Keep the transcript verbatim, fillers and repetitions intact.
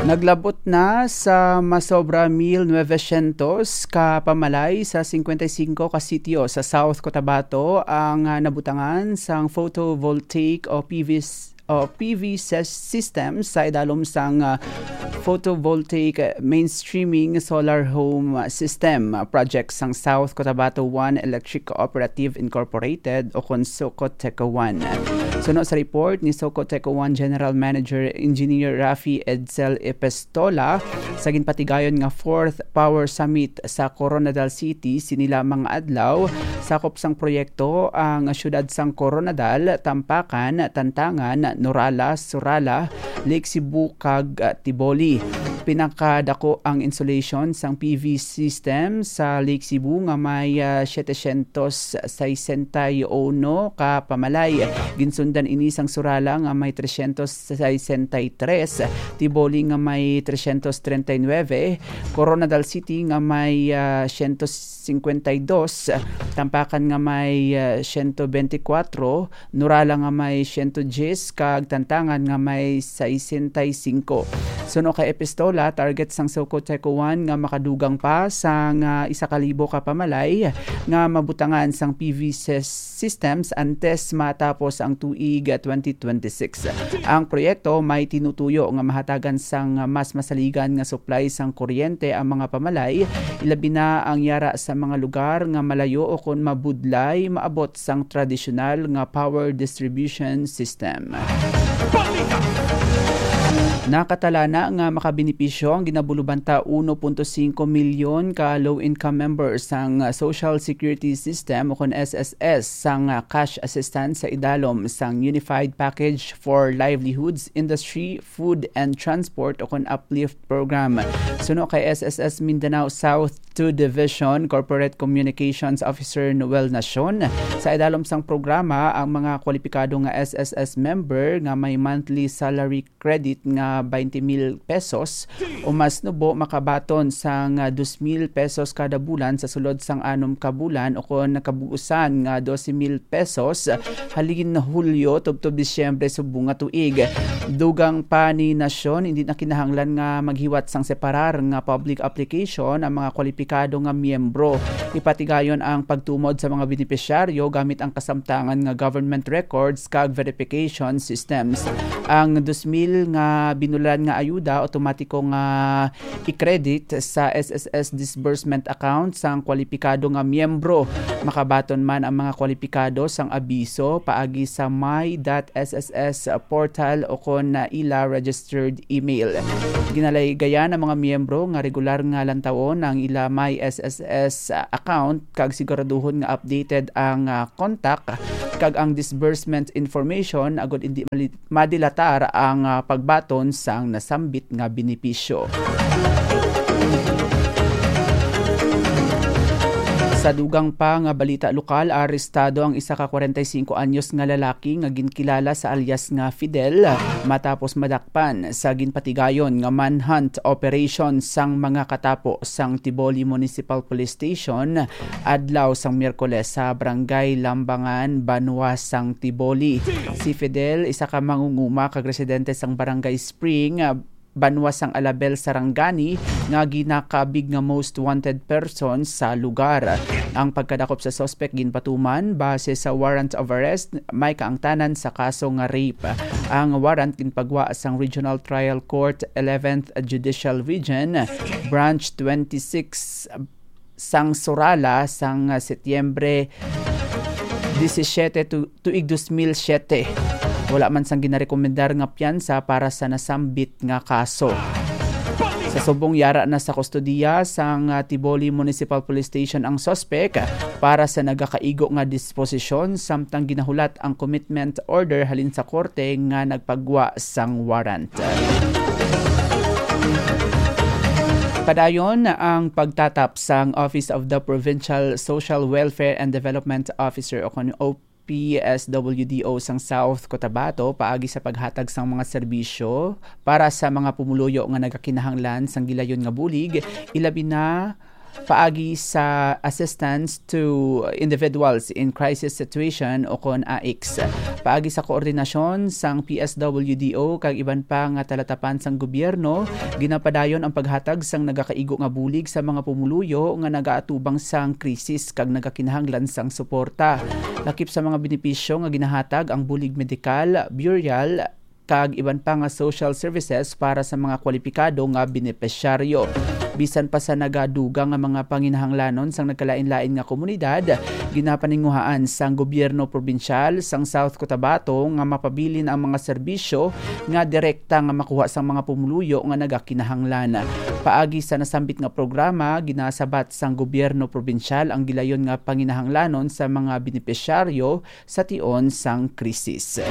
Naglabot na sa masobra mil novecientos ka pamalay sa cincuenta y cinco ka sitio sa South Cotabato ang, ah, nabutangan sang photovoltaic o P V s-, o P V sys-, system sa idalom sang, ah, photovoltaic mainstreaming solar home system, ah, project sang South Cotabato One Electric Cooperative Incorporated o kon Socoteco One. Suno sa report ni Socoteco One General Manager Engineer Rafi Edsel Epistola, sa ginpatigayon nga Fourth Power Summit sa Koronadal City sini lamang nga adlaw, sakop sang proyekto ang siyudad sang Koronadal, Tampakan, Tantangan, Norala, Surala, Lake Cebu, kag, ah, Tiboli. Pinakadako ang insulation sang P V system sa Lake Cebu nga may, ah, setecientos sesenta y uno ka pamalay. Ginsundan ini sang Surala nga may trescientos sesenta y tres, Tiboli nga may trescientos treinta y nueve, Coronadal City nga may, ah, ciento cincuenta y dos, Tampakan nga may, ah, ciento veinticuatro, Norala nga may ciento diez, kag Tantangan nga may sesenta y cinco. Suno kay Epistola, target sang Socoteco One nga makadugang pa sang, ah, isa ka libo ka pamalay nga mabutangan sang P V sys-, systems antes matapos ang tuig twenty twenty-six. Ang proyekto may tinutuyo nga mahatagan sang mas masaligan nga supply sang kuryente ang mga pamalay, ilabi na ang yara sa mga lugar nga malayo o kon mabudlay maabot sang tradisyonal nga power distribution system. Nakatalana nga makabenepisyo ang ginabulubanta uno punto singko milyon ka low-income members sang Social Security System o kon S S S sang cash assistance sa idalom sang Unified Package for Livelihoods, Industry, Food and Transport o kon UPLIFT program. Suno kay S S S Mindanao South Two Division Corporate Communications Officer Noel Nacion, sa idalom sang programa, ang mga kwalipikado nga S S S member nga may monthly salary credit nga twenty mil pesos o mas nubo makabaton sang, ah, dos mil pesos kada bulan sa sulod sang anom ka bulan o kon kabug-usan nga dose mil pesos halin Hulyo tubtob Disyembre subong nga tuig. Dugang pa ni Nacion, hindi na kinahanglan nga maghiwat sang separar nga public application ang mga kwalipikado nga miyembro. Ipatigayon ang pagtumod sa mga benepisyaryo gamit ang kasamtangan nga government records kag verification systems. Ang dos mil nga binulan nga ayuda automatiko nga i-credit sa S S S disbursement account sang kwalipikado nga miyembro. Makabaton man ang mga kwalipikado sang abiso paagi sa my dot S S S portal o kon na ila registered email. Ginalaygayan ang mga miyembro nga regular nga lantawon ang ila my S S S account kag siguraduhon nga updated ang, ah, contact kag ang disbursement information agud hindi mali-, madilatar ang, ah, pagbaton sang nasambit nga benepisyo. Sa dugang pa nga balita lokal, arestado ang isa ka kwarenta y singko anyos nga lalaki nga ginkilala sa alias nga Fidel matapos madakpan sa ginpatigayon nga manhunt operation sang mga katapo sang Tiboli Municipal Police Station adlaw sang Miyerkules sa Barangay Lambangan, Banwa sang Tiboli. Si Fidel, isa ka mangunguma kag residente sang Barangay Spring, ah, Banwa sang Alabel, Sarangani, nga ginakabig nga most wanted person sa lugar. Ang pagkadakop sa suspek ginpatuman base sa warrant of arrest, may kaangtanan sa kaso nga rape. Ang warrant ginpagwa sang Regional Trial Court, eleventh Judicial Region, Branch twenty-six, sang Surala sang, ah, Setyembre disisiete tu-, tuig dos mil siyete. Wala man sang ginarekomendar nga piyansa para sa nasambit nga kaso. Sa subong, yara na sa kustodiya sang, ah, Tiboli Municipal Police Station ang suspek para sa nagakaigo nga disposisyon, samtang ginahulat ang commitment order halin sa korte nga nagpagwa sang warrant. Padayon ang pagtatap sang Office of the Provincial Social Welfare and Development Officer o kon O P S W D O sang South Cotabato paagi sa paghatag sang mga serbisyo para sa mga pumuluyo nga nagakinahanglan sang gilayon nga bulig, ilabi na paagi sa Assistance to Individuals in Crisis Situation o kon A I C S. Paagi sa koordinasyon sang P S W D O kag iban pa nga talatapan sang gobyerno, ginapadayon ang paghatag sang nagakaigo nga bulig sa mga pumuluyo nga nagaatubang sang krisis kag nagakinahanglan sang suporta. Lakip sa mga benepisyo nga ginahatag ang bulig medikal, burial, kag iban pa nga social services para sa mga kwalipikado nga benepisyaryo. Bisan pa sa nagadugang nga mga panginahanglanon sang nagkalain-lain nga komunidad, ginapaninguhaan sang gobyerno probinsyal sang South Cotabato nga mapabilin ang mga serbisyo nga direkta nga makuha sang mga pumuluyo nga nagakinahanglan. Paagi sa nasambit nga programa, ginasabat sang gobyerno probinsyal ang gilayon nga panginahanglanon sa mga benepisyaryo sa tion sang krisis.